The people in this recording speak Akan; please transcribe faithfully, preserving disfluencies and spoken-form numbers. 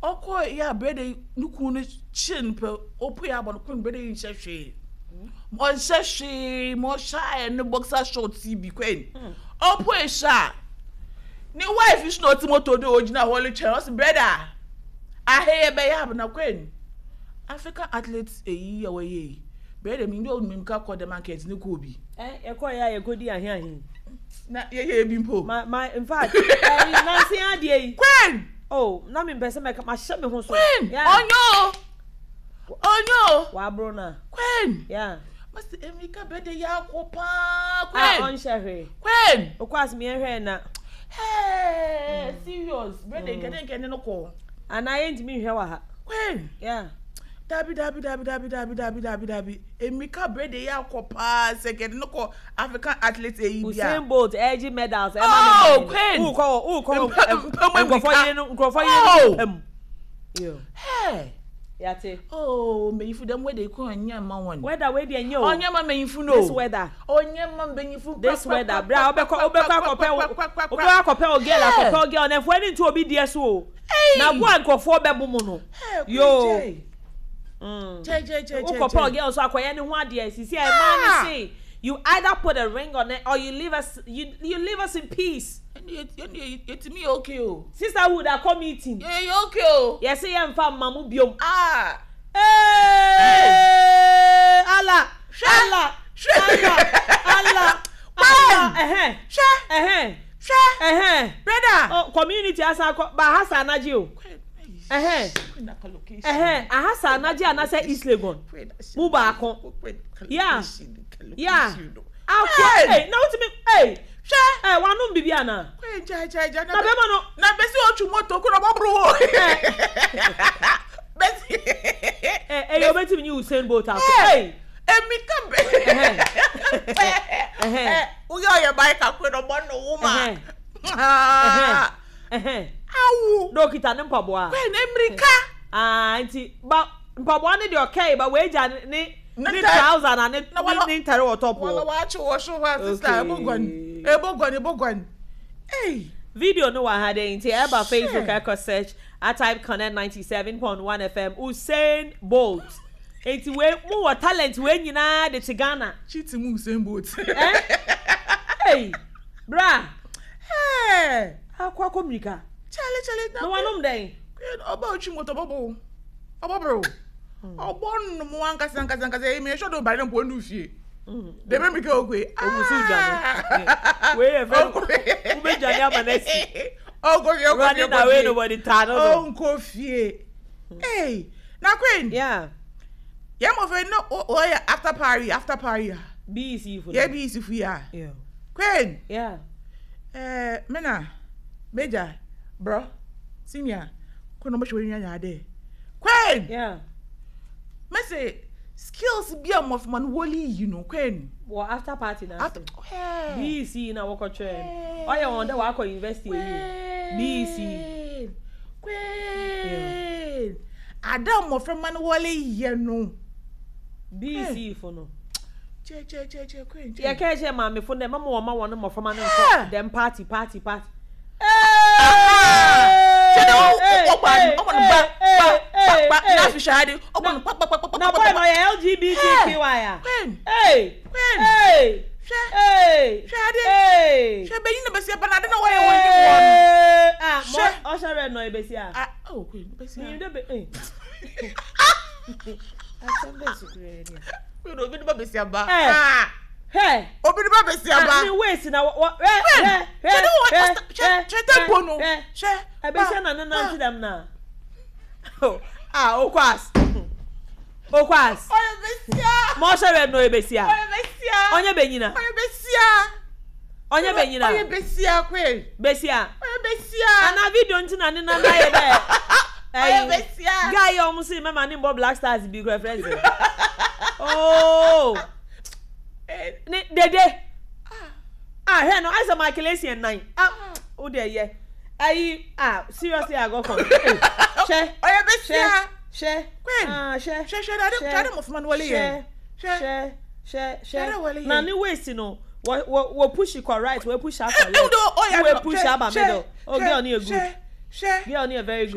Ɔkɔ yɛ a, brother yi ne kun no kyerɛ no pɛ, ɔpue abɔ no. Queen, brother yi nhyɛ hwee, ɔnhyɛ hwee ma ɔhyɛ ayɛ ne boxer shorts yi bi. Queen, ɔpue hyɛ a, ne wife so na ɔte moto do, ogyina hɔ retwɛn. Ɔsi, "Brother, aheyɛ bɛyɛ abena." Queen, African athlete eyi a wɔyɛ yi, brother mi ndi onim ka kɔ dɛm ankɛntɛ ne kɔɔ bi. Ɛ yɛkɔ yɛ a, yɛkɔdi ahe ahe. Na yɛyɛ bi mpo. Ma ma in fact, ɛyi nansi adeɛ yi. Queen. Oh, na mi mpɛ sɛ mɛka ma hyɛ mi ho so. Queen. Yeah. Ɔnyɛ o, ɔnyɛ o. Waboro na. Queen. Yeah. Masi emika brother yɛ akɔ paa. A Queen. ɔnhyɛ hwee. Queen. Okɔ asemi yɛn hwɛ na. Hey, serious, brother, nkɛdɛ nkɛdɛ no kɔ. Anaa yɛntumi nhwɛ wɔ ha. Queen. Yeah. Dabi, dabi, dabi, dabi, dabi, dabi, dabi, dabi, emika brother yɛ akɔ paa sɛ nkɛdɛ no kɔ African athlete eyi bi a. Usain Bolt ɛgye medals ɛma Oh, ne maame. Queen. Wukɔ wukɔ Mpɛ- mpɛ mu nkurɔfoɔ emirika. yere no, nkurɔfoɔ yere no Oh. pɛm. Yo. Hey. Yate. Oh, mbɛnyinfo dɛm wɛda yi kɔ ɔnyɛ ma wɔn. Weather wei deɛ nyɛ o. Ɔnyɛ ma mbɛnyinfo no. This weather. Ɔnyɛ ma mbɛnyinfo. This weather, bra, wobɛkɔ wobɛkɔ akɔpɛ wo, wobɛkɔ akɔpɛ o girl, akɔpɛ o girl na ɛfoɔ ani nto obi deɛ so o. Na bo a nkurɔfoɔ bɛbo mu no. Yo. Mm. Wokɔpɛ o girl so akɔyɛ ne ho adeɛ sisi a ɛmaa ne se you either put a ring on it or you leave us you you leave us in peace. Yɛtumi yɛ okay o. Sisterhood akɔ meeting. Yɛ yɛ okay o. Yɛsɛ yɛmfa mma mo biom. Ah. Hey! Allah! Hwɛ. Allah! Hwɛ. Allah! Allah! Allah! Ɛhɛn! Hwɛ. Ɛhɛn! Hwɛ. Ɛhɛn! Brother. Oh, community asa akɔ ba ahasa anagye o. Ɛhɛn! Ɛhɛn! Ahasa anagye anasɛ East Legon. Mu baako. Yeah. Yeah. Akɔ hey, na wotumi hey. Hwɛ. Ɛ wanom bibi ana? Gya gya gya. Na bɛrima no. Na bɛsi otwi moto kó na ɔbɔ wo. Bɛsi. Ɛ ɛyɛ obetumi nye Usain Bolt akɔ. Hey. Emi ka bɛ. Ɛhɛn. Ɛhɛn. Ɛ woyɛ ɔyɛ bike akɔ na ɔbɔ no wo ma. Ɛhɛn. Ɛhɛn. Awo. Na okita ne mpaboa. Kwɛ na emirika. Ah, nti ba mpaboa ne deɛ ɔkɛɛ ba wei gya ne ne Ne ne ta- trouser na ne Na ne wala- ne ntare wɔ top Wala wɔ. waakye wɔ so hɔ a, sister, ebo guan. Ebo guan, ebo guan. Hey. Video no wɔ ha de, nti ɛba Facebook, Sure. ɛkɔ search a type Connect ninety seven point one F M, Usain Bolt. Nti wei mu wɔ talent wei nyinaa de te Ghana. Cheat mu Usain Bolt. Eh? Hey, bra. Hey. Akɔ akɔ mirika. Chale chale. Na wanom dɛn? Ɔba otwi moto, ɔbɔ bo. Ɔbɔ bro. Ɔbɔ nom ankasa ankasa ankasa. Eyi mi ehwɛ do ba ne mpo ndu fie. Dɛmɛ mirika okwe. Owusu dwane. Wei yɛ fɛ wobɛdwane ama no asi. Ɔnkɔ fie, ɔnkɔ fie. Running away, nobody taa no no. Ɔnkɔ fie. Hey, na Queen. Yeah. Yɛn mɔfɛ no ɔyɛ after party, after party a. B E C fo. Yɛ B E C fo yi a. Yeah. Queen. Yeah. Ɛɛ mena major bro senior ko na ɔmo hwɛ wɔn nyanya ade. Queen. Yeah. Mɛsɛ skills bi a mmɔfra no wɔli yi no, Queen. Wɔ after party na. After. Hey. B E C na wɔkɔtwerɛ no. Ɔyɛ wɔn dɛ wakɔ university ewie. B E C. Queen. Ada mmɔfra no wɔli yɛ no. B E C fo no. Kyɛ kyɛ kyɛ kyɛ, Queen. Yɛ kɛ kyɛ maamefo dɛ mama wɔn ma wɔn mmɔframma no Yeah. nkɔ dɛm party party party. Kyɛ dɛ ɔbɔ ɔbɔ no ba ba ba ba na afi hwɛ ade ɔbɔ no pa pa pa pa pa. Na boy no ɔyɛ L G B T Q I a. Queen. Hey. Queen. Hey. Hwɛ. Hey. Hwɛ ade. Hey. Hwɛ bɛyi na bɛsi aba na ade na wɔyɛ wɔn yi wɔn. Ah, mo Hwɛ. ɔhyɛ red na ɔyɛ besi a. Ah, oh, Queen, bɛsi Mi a. de be eh. Asɛm bɛ sukuu yɛ ni. Queen, obi de ba bɛsi aba. Eh. Ah. Hɛ. Obi de ba bɛsi aba. Ah, ne waist na wɔ wɔ hɛ Queen. hɛ Hwɛ hɛ ne wɔ hɛ hwɛ hwɛ tempo no. hwɛ. Hwɛ. Ɛbɛhyɛ na ne nante dɛm na. Ah, okwas. Okwas. Ɔyɛ bɛsia. Ma ɔhyɛ red na ɔyɛ besi a. Ɔyɛ bɛsia. Ɔnyɛ benyina. Ɔyɛ bɛsia. Ɔnyɛ benyina. Ɔyɛ bɛsia, Queen. Besi a. Ɔyɛ bɛsia. Ana video nti na ne nan ayɛ dɛ. Ɔyɛ bɛsia. Guy yi a ɔmo si mɛma ne mbɔ Black Stars bi kura friends. Oh. Ne dede. Ah, hwɛ no ayɛ sɛ Michael Essien nan. Ah, o de yɛ. Ayi, ah, seriously, I got confused. Hwɛ. Ɔyɛ bɛsia. Hwɛ. Queen. Ah, hwɛ. Hwɛ hwɛ ade Hwɛ. ade mmɔfra no wɔle yɛ. Hwɛ. Hwɛ. Hwɛ. Hwɛ. Hwɛ Hwɛ. wɔle yɛ. Na ne waist no, wɔ wɔ wɔ push kɔ right, wɔ push akɔ Ɛ left. ɛ ɔyɛ Wɔ push aba middle. Oh, girl no yɛ good. Hwɛ hwɛ. Girl no yɛ very good.